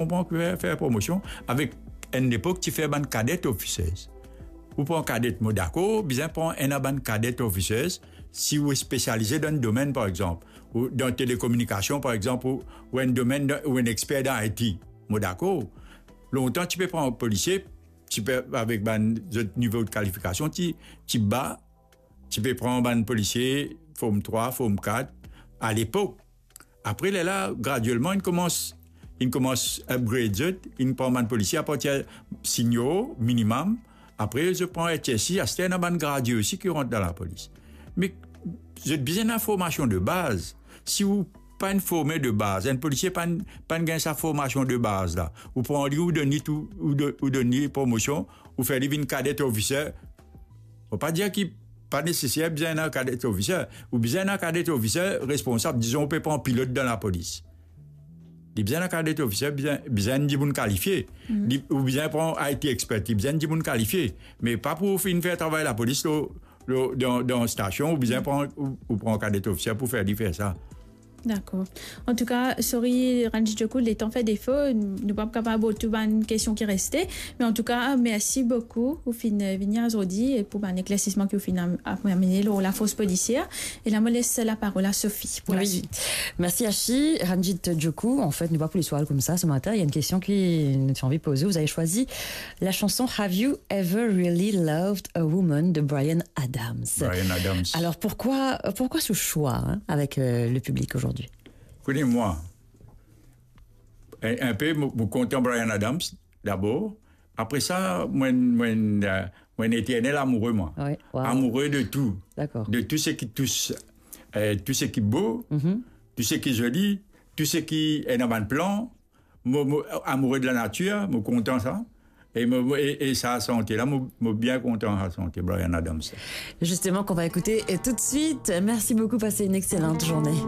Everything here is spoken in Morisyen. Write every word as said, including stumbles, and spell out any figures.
pran, fer, fer promosion avek enn lepok ti fer bann cadet officers. Ou pran cadet, mo dakor, bizin pran enn a bann cadet officers, si ou spesialize dan enn domenn, par exanp, ou dan telekominikasion, par exanp, ou, ou enn domenn dan, ou enn exper dan I T, mo dakor. Lontan, ti pe pran polisie, ti pe, avek bann zot nivo de kalifikasion, ti, ti ba, ti pe pran bann polisie form trwa, form kat, a lepok. Apre, lerla, graduelman, inn koumans, inn koumans upgrade zot, inn pran bann polisie apartir senior, minimum. Apre, zot pran H S C, aster ena bann gradie osi ki rant dan lapolis. Me zot bizin ena formasion de baz. Si ou pa'nn forme de baz, enn polisie pa'nn, pa'nn gagn sa formasion de baz la, ou pran li, ou donn li tou, ou do-, ou donn li promosion, ou fer li vinn cadet officer, Mo pa dir ki pa neseser bizin ena cadet officer. Ou bizin ena cadet officer responsab, dizon ou pe pran pilot dan lapolis. Li bizin ena cadet officer, bizin, bizin enn dimoun kalifie. Li, ou bizin pran I T expert, li bizin enn dimoun kalifie. Me pa pou ou finn fer travay lapolis lo, lo, dan, dan stasion, ou bizin pran, ou, ou pran cadet officer pou fer li fer sa. Dakor. Antouka, sorry, Ranjit Joku, letan fer defo, nou pa kapav ret tou bann kestion ki reste. Me antouka, mersi boukou, ou finn vini azordi e pou bann eklersisman ki ou finn am-, am-, amene lor lafors polisier. E la, mo les laparol a Sophie pou la suite. Mersi, Ashi. Ranjit Joku, an fet, nou pa pou les al koumsa se matin. Il y a une question ki nou ti anvi poze. Vous avez choisi la chanson Have You Ever Really Loved a Woman de Bryan Adams. Bryan Adams. Alors, pourquoi, pourquoi ce choix, hein, avec, euh, le public aujourd'hui ? Kone mwa, enn, enn pe, mo, mo kontan Bryan Adams, dabor. Apre sa, mwa, mwa, euh, mwa eternel amoure, mwa. Amoure de tou. De tou seki tous, euh, tou seki bo, tou seki zoli, tou seki ena bann plan, Mo, mo amoure de lanatir, mo kontan sa. E mo, mo, e, e sa sante la, mo, mo bien kontan sa sante, Bryan Adams. Justement, qu'on va écouter, euh, tout de suite. Merci beaucoup, passez une excellente journée.